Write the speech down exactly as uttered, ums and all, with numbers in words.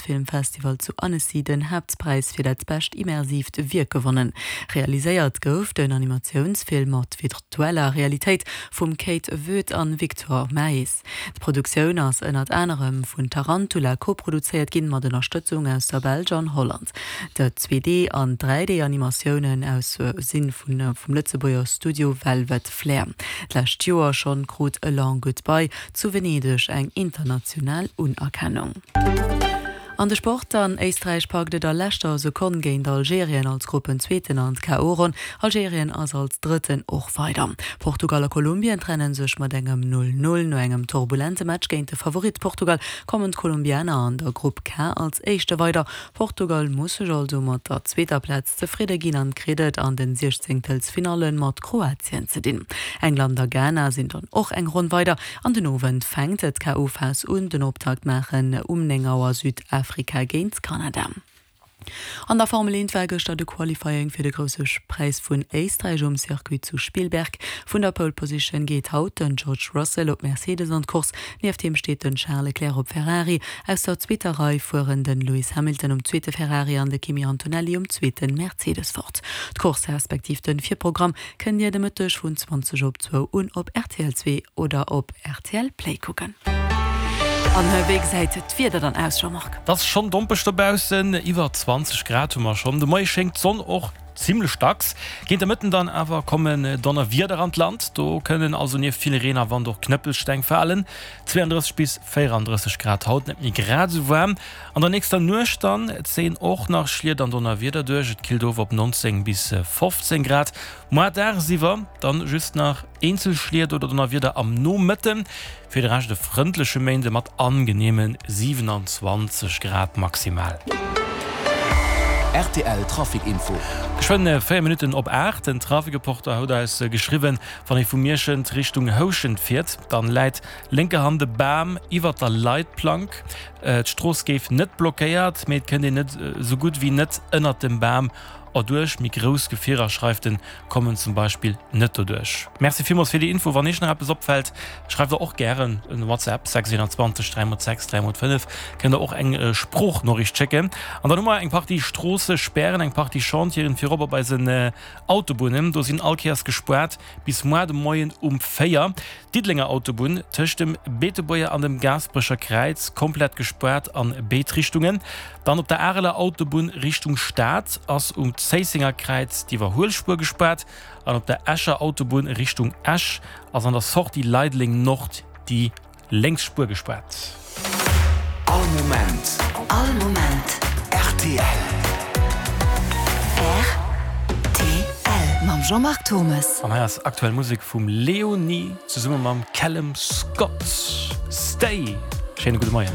Filmfestival zu Annecy den Haaptpräis fir dat bescht immersiivt Wierk gewonnen. Realiséiert gouf den Animatiounsfilm mat virtueller Realitéit vum Kate Voet an Victor Maes. D'Produktioun ass ënnert anerem vun Tarantula koproduzéiert ginn, mat Ënnerstëtzung aus der Belsch an Holland. Déi zwee D an dräi D Animatiounen aus sinn vun vum Lëtzebuerger Studio Velvet Flair. D'lescht Joer schonn krut A Long Goodbye zu Venedeg eng international Unerkennung. An de Sport dann: Éisträich packt et a leschter Sekonn géint Algerien als Gruppenzweeten an d'K O. Ronn. Algerien ass als Drëtten och weider. Portugal a Kolumbien trenne sech mat engem null null. No engem turbulente Match géint de Favorit Portugal kommen d'Kolumbianer an der Grupp K als Éischte weider. Portugal muss sech also mat der zweeter Plaz zefridde ginn an kritt et an den Siechzéngtelsfinalle mat Kroatien ze dinn. England a Ghana sinn dann och eng Ronn weider. An den Owend fänkt d'K O. Phas un, den Optakt maachen um néng Auer Südafrika géint Kanada. An der Formel eent war gëschter de Qualifying fir de Grousse Präis vun Éisträich um Circuit zu Spielberg. Vun der Pole Position geet haut den George Russell op Mercedes an d'Course. Nieft him steet den Charles Leclerc op Ferrari. Aus der zweeter Rei fueren den Lewis Hamilton um zweete Ferrari an de Kimi Antonelli um zweete Mercedes fort. D'Course respektiv den Virprogramm kënnt Dir de Mëtteg vun zwanzeg op zwou un op R T L zwee oder op R T L Play kucken. An wéi gesäit d'Wieder dann aus, Jean-Marc? Et ass schonn dompeg dobaussen, iwwer zwanzeg Grad hu mer schonn. De Moie schéngt d'Sonn och zimmlech dacks. Géint de Mëtten dann awer kommen Donnerwieder an d'Land. Do kënnen also nieft vill Reen a Wand och Knëppelsteng falen. zwouandrësseg bis véierandrësseg Grad haut, net méi grad esou waarm. An der nächster Nuecht dann zéien och nach Schliet an Donnerwieder duerch. Et killt of op nonzéng bis fofzéng Grad. Muer dagsiwwer dann just nach eenzel Schliet oder Donnerwieder am Nomëtten. Fir de Rescht e frëndleche Méinde mat angeneeme siewenundzwanzeg Grad maximal. R T L Trafic Info. Geschwënn véier Minutten op aacht. Den Trafikreporter huet eis geschriwwen, wann ee vu Mierschent Richtung Houschent fiert, dann läit lénker Hand e Bam iwwert der Leitplank. D'Strooss géif net blockéiert, mee et kënnt een net esou gutt wéi net ënnert dem Bam erduerch. Méi grouss Gefierer, schreift en, kommen zum Beispill net doduerch. Merci villmools fir déi Info. Wann Iech nach eppes opfält, schreift der och gären en WhatsApp, sechs einundzwanzeg dräi mol sechs dräi mol fënnef. Kënnt der och eng Sproochnoriicht schécken. An dann hu mer eng Partie Stroossespären, eng Partie Chantieren, virop op eisen Autobunnen. Do sinn all Kéiers gespaart bis muer de Moien um véier. D'Diddelenger Autobunn tëscht dem Beetebuerger an dem Gaasperecher Kräiz komplett gespaart an béid Richtungen. Dann op der Areler Autobunn Richtung Stad ass um Zéissenger Kräiz d'Iwwerhuelspuer gespaart an op der Escher Autobunn Richtung Esch ass an der Sortie Leideleng Nord déi lénks Spuer gespaart. All Moment. All Moment. R T L. R T L mam Jean-Marc Thomas. An hei ass aktuell Musek vum Leonie zesumme mam Callum Scott. Stay. Schéine gudde Moien.